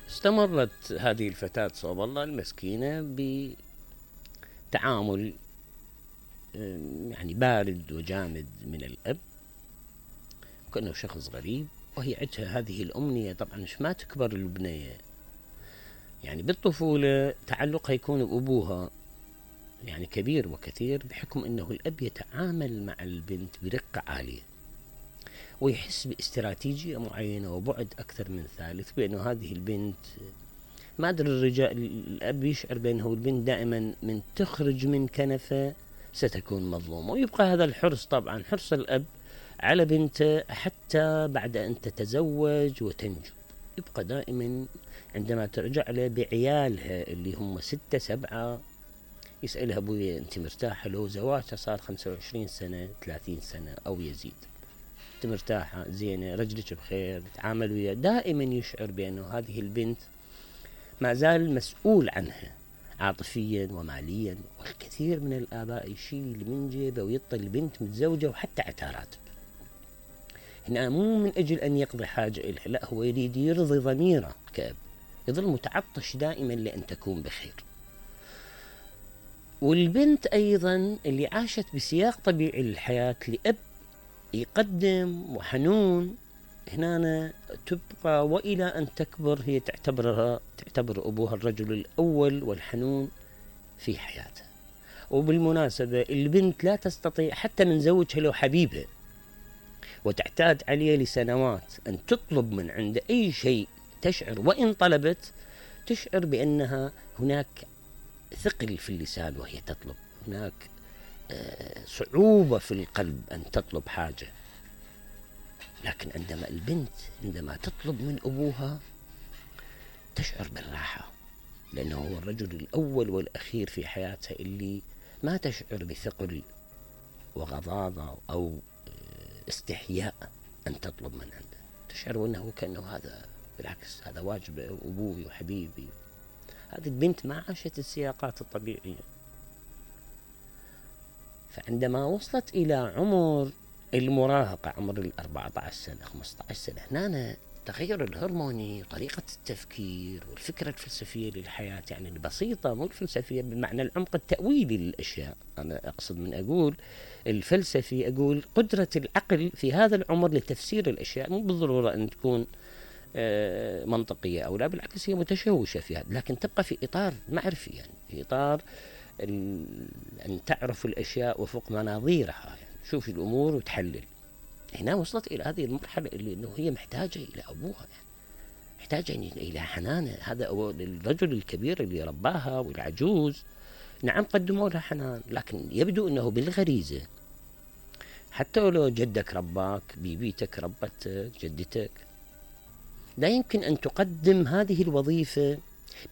استمرت هذه الفتاة صوب الله المسكينة بتعامل يعني بارد وجامد من الأب، كأنه شخص غريب، وهي عندها هذه الأمنية. طبعا مش ما تكبر البنية، يعني بالطفولة تعلقها يكون بأبوها يعني كبير وكثير، بحكم أنه الأب يتعامل مع البنت برقة عالية، ويحس باستراتيجية معينة وبعد أكثر من ثالث، بأنه هذه البنت ما أدري الرجال الأب يشعر بأنه البنت دائما من تخرج من كنفه ستكون مظلومة، ويبقى هذا الحرص، طبعا حرص الأب على بنته حتى بعد أن تتزوج وتنجب، يبقى دائما عندما ترجع له بعيالها اللي هم 6 7 يسألها أبويا أنت مرتاحة؟ لو زواجها صار 25 سنة 30 سنة أو يزيد، أنت مرتاحة؟ زينة؟ رجلك بخير؟ تعامل وياه؟ دائما يشعر بأنه هذه البنت ما زال مسؤول عنها عاطفيا وماليا. والكثير من الآباء يشيل من جيبه ويعطي البنت متزوجة وحتى عتارات، هنا مو من أجل أن يقضي حاجة إلها، لا، هو يريد يرضي ضميره كأب، يظل متعطش دائما لأن تكون بخير. والبنت أيضا اللي عاشت بسياق طبيعي للحياة لأب يقدم وحنون، هنا تبقى وإلى أن تكبر هي تعتبر أبوها الرجل الأول والحنون في حياتها. وبالمناسبة البنت لا تستطيع حتى من زوجها لو حبيبها وتعتاد عليه لسنوات أن تطلب من عنده أي شيء، تشعر وإن طلبت تشعر بأنها هناك ثقل في اللسان وهي تطلب، هناك صعوبة في القلب أن تطلب حاجة. لكن عندما البنت عندما تطلب من أبوها تشعر بالراحة، لأنه هو الرجل الأول والأخير في حياتها اللي ما تشعر بثقل وغضاضة أو استحياء أن تطلب من عنده، تشعر أنه كأنه هذا بالعكس هذا واجب أبوي وحبيبي. هذه البنت ما عاشت السياقات الطبيعية. فعندما وصلت إلى عمر المراهقة، عمر 14 سنة 15 سنة، هنا التغير الهرموني وطريقة التفكير والفكرة الفلسفية للحياة، يعني البسيطة مو الفلسفية بمعنى العمق التأويلي للأشياء، أنا أقصد من أقول الفلسفي، أقول قدرة العقل في هذا العمر لتفسير الأشياء، مو بالضرورة أن تكون منطقية أو لا، بالعكس هي متشوشة في هذا، لكن تبقى في إطار معرفي، يعني في إطار أن تعرف الأشياء وفوق مناظيرها، يعني شوف الأمور وتحلل. هنا وصلت إلى هذه المرحلة اللي إنه هي محتاجة إلى أبوها، يعني محتاجة إلى حنانه. هذا الرجل الكبير اللي رباها والعجوز، نعم قدموا لها حنان، لكن يبدو أنه بالغريزة، حتى لو جدك رباك، بيبيتك ربتك، جدتك، لا يمكن أن تقدم هذه الوظيفة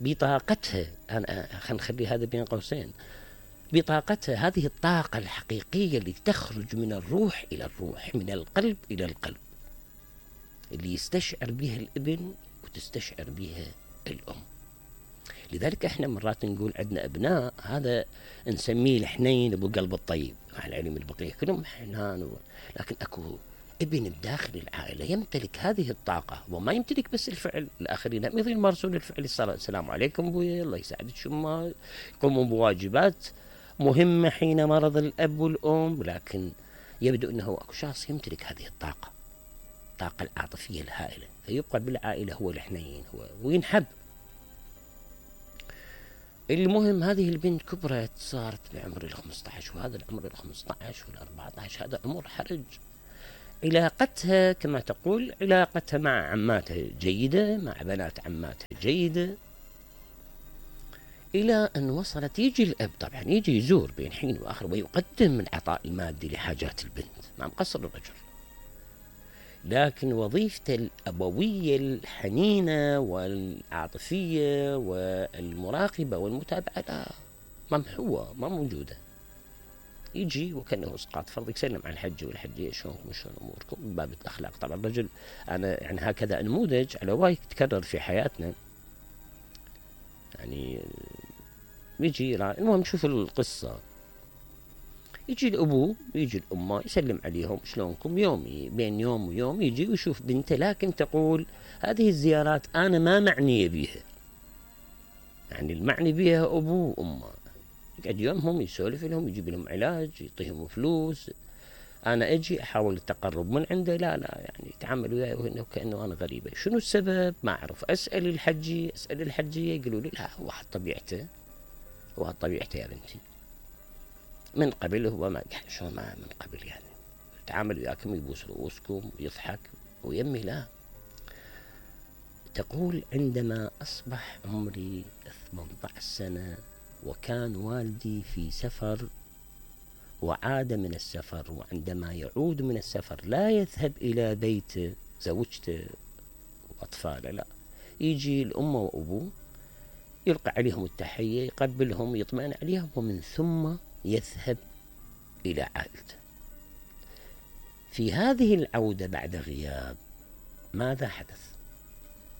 بطاقتها. خلينا نخلي هذا بين قوسين، بطاقتها، هذه الطاقة الحقيقية اللي تخرج من الروح إلى الروح، من القلب إلى القلب، اللي يستشعر بها الابن وتستشعر بها الأم. لذلك احنا مرات نقول عندنا أبناء هذا نسميه الحنين أبو قلب الطيب، مع العلم البقية كلهم حنان لكن أكو ابن بداخل العائلة يمتلك هذه الطاقة، وما يمتلك بس الفعل، الآخرين مثل يمارسون الفعل، السلام عليكم أبويا، الله يساعدك، شما يقومون بواجبات مهمة حين مرض الأب والأم، لكن يبدو أنه أكو شخص يمتلك هذه الطاقة العاطفية الهائلة، فيبقى بالعائلة هو الحنين، هو وينحب. المهم هذه البنت كبرت، صارت بعمر 15، وهذا العمر 15 وال14 هذا عمر حرج. علاقتها كما تقول، علاقتها مع عماتها جيدة، مع بنات عماتها جيدة، إلى أن وصلت يجي الأب طبعا يجي يزور بين حين وآخر ويقدم العطاء المادي لحاجات البنت، ما مقصر الرجل، لكن وظيفته الأبوية الحنينة والعاطفية والمراقبة والمتابعة لا، ممحوة، ما موجودة. يجي وكأنه اسقاط فرض، يسلم على الحج والحجية، شلونكم شلون أموركم، من باب الأخلاق. طبعا الرجل، أنا يعني هكذا نموذج على وايد تكرر في حياتنا، يعني يجي المهم شوف القصة. يجي الأبو يجي الأمة يسلم عليهم شلونكم، يومي بين يوم ويوم يجي ويشوف بنته، لكن تقول هذه الزيارات أنا ما معنية بيها، يعني المعني بيها أبوه وأمه، يقعد يومهم يسولف لهم، يجيب لهم علاج، يعطيهم فلوس، أنا أجي أحاول التقرب من عنده، لا يعني يتعامل وياي وكأنه أنا غريبة. شنو السبب؟ ما أعرف. أسأل الحجية يقولوا لي لا، هو حط طبيعته، هو طبيعته يا بنتي، من قبل هو ما شو ما من قبل يعني يتعامل وياكم، يبوس رؤوسكم ويضحك، ويمي لا. تقول عندما أصبح عمري 18 سنة وكان والدي في سفر وعاد من السفر، وعندما يعود من السفر لا يذهب إلى بيت زوجته وأطفاله، لا، يجي الأم وأبوه يلقى عليهم التحية، يقبلهم، يطمئن عليهم، ومن ثم يذهب إلى عائلته. في هذه العودة بعد غياب ماذا حدث؟